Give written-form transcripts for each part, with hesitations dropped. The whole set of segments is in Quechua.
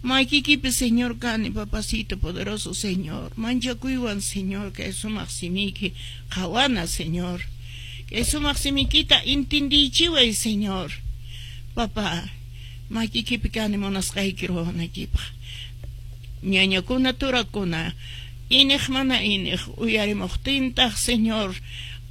Makikipi, Señor, kani, papacito poderoso, Señor. Manchakuywan, Señor, kay sumaq simiyki qhawana, Señor. Kay sumaq simikita intindiychiway, Señor. Papá, makikipi kani munasqayki ruwanaykipaq. Ñañakuna, turakuna, iniq mana iniq uyarimuqtintaq, Señor,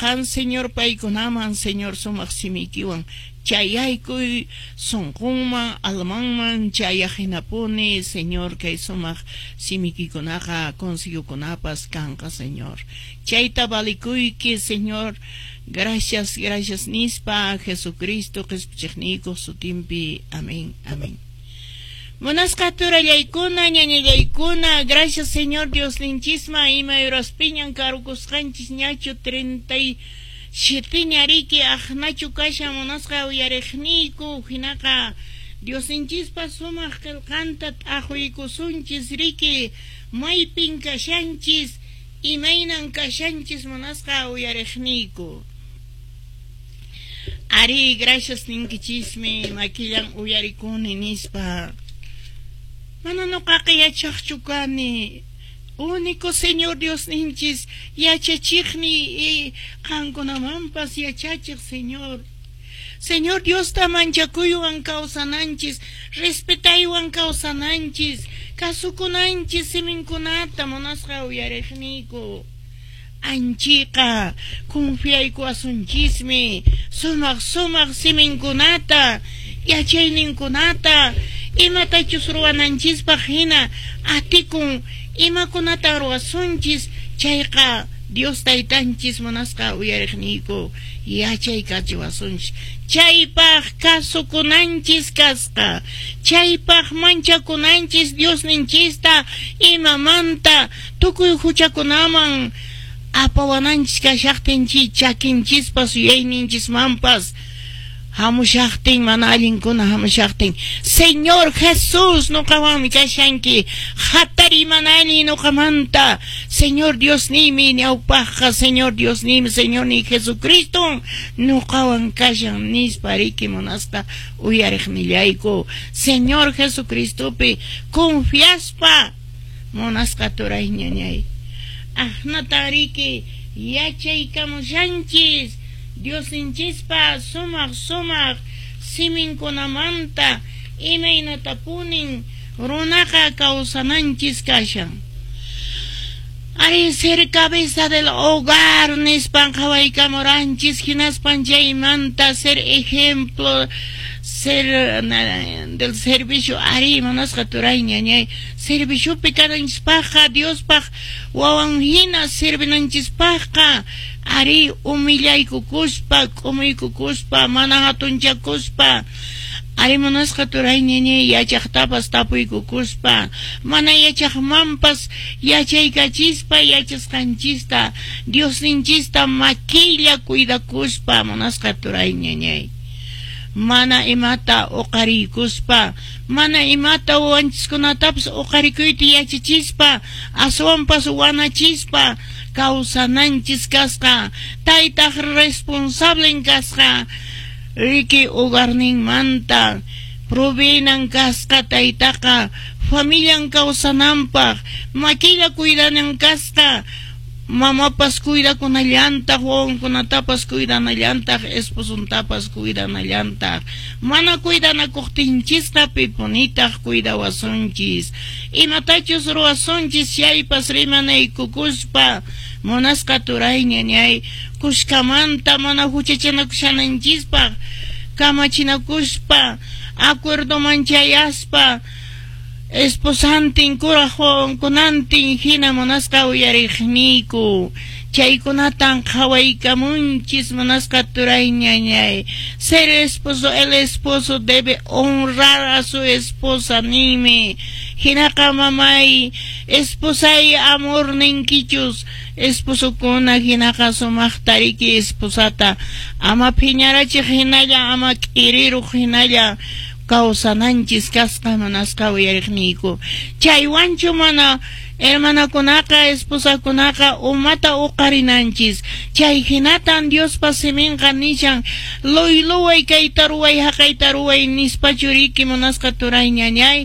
qan, Señor, paykunaman, Señor, sumaq simiykiwan chayaykuy sunqunman, almanman chayaq hinapuni, Señor, kay sumaq simikikunaqa, consejokunapas kanqa, Señor. Chayta valikuyki, Señor. Gracias, gracias nispa, Jesucristo qhispichiqniykuq sutinpi. Amén, amén. Munasqa turallaykuna, ñañallaykuna, gracias, Señor Diosninchisman, ima uraspiñan karukusqanchis ñachu 37ña riki aqnachu kashan, munasqa uyariqniyku. Hinaqa Diosninchispa sumaq qillqanta t'aqwiykusunchis riki, maypin kashanchis, imaynan kashanchis, munasqa uyariqniyku. Ari, gracias ninkichismi, makillan uyarikuni nispa. Mana nuqaqa yachaqchu kani. Único Señor Diosninchis yachachiqni y qankunamanpas yachachiq Señor. Señor Diosta manchakuywan kawsananchis, respetaywan kawsananchis, kasukunanchis siminkunata, munasqa uyariqniyku. Anchiqa confiaykuwasunchismi sumaq sumaq siminkunata, yachayninkunata, imatachus ruwananchispaq hina atikun, imakunata ruwasunchis chayqa Dios taytanchis, munasqa uyariqniyku, yachaykachiwasunchis. Chaypaq kasukunanchis kasqa, chaypaq manchakunanchis Diosninchista, imamanta tukuy huchakunaman apawananchis kashaqtin, chakinchispas yuyayninchismanpas hamushaqtin, mana allinkuna hamushaqtin, "Señor Jesús, nuqawanmi kashanki, hatari mana allin nuqamanta, Señor Diosniymi ñawpaqqa, Señor Diosniymi, Señorniy Jesucristo nuqawan kashan" nispa riki, munasqa uyariqnillayku, Señor Jesucristopi confiaspa, munasqa turay ñañay. Aqnatan riki yachaykamushanchis Diosninchispa sumaq sumaq siminkunamanta, imaynatapunin runaqa kawsananchis kashan. Ari, ser cabeza del hogar nispan qhawaykamuranchis, hinaspan chaymanta ser ejemplo, ser del servicio. Ari, munasqa turay ñañay, serviciopi kananchispaqqa, Diospaq wawan hina servinanchispaqqa, ari, humillaykukuspa, k'umuykukuspa, mana hatunchakuspa. Ari, munasqa turay ñañay, yachaqtapas tapuykukuspa, mana yachaqmanpas yachaykachispa yachasqanchista, Diosninchista makilla cuidakuspa, munasqa turay ñañay, mana imata uqariykuspa, mana imata wawanchiskunatapas uqarikuyta yachachispa, aswanpas wanachispa kawsananchis kasqa. Taytaq responsablen kasqa riki hogarninmanta, proveenan kasqa taytaqa familian kawsananpaq, makilla cuidanan kasqa, mamapas cuidakunallantaq, wawankunatapas cuidanallantaq, esposontapas cuidanallantaq. Mana cuidanakuqtinchisqa, pipunitaq cuidawasunchis? Imatachus ruwasunchis chaypas rimanaykukuspa, munasqa turay ñañay, kushkamanta mana huchachanakushananchispaq, kamachinakuspa, acuerdoman chayaspa, esposantin, kuraq wawankunantin hina, munasqa uyariqniyku. Chaykunatan qhawaykamunchis, munasqa turay ñañay. Ser esposo, el esposo debe honrar a su esposa ninmi. Hinaqa mamay, esposay amor ninkichus, esposokuna, hinaqa sumaqta riki esposata ama phiñarachiq hinalla, ama k'iriruq hinalla kawsananchis kasqa, munasqa uyariqniyku. Chaywanchu mana hermanakunaqa, esposakunaqa umata uqarinanchis. Chay hinatan Diospa siminqa nishan, luyluway kayta ruway, haqayta ruway nispachu riki, munasqa turay ñañay.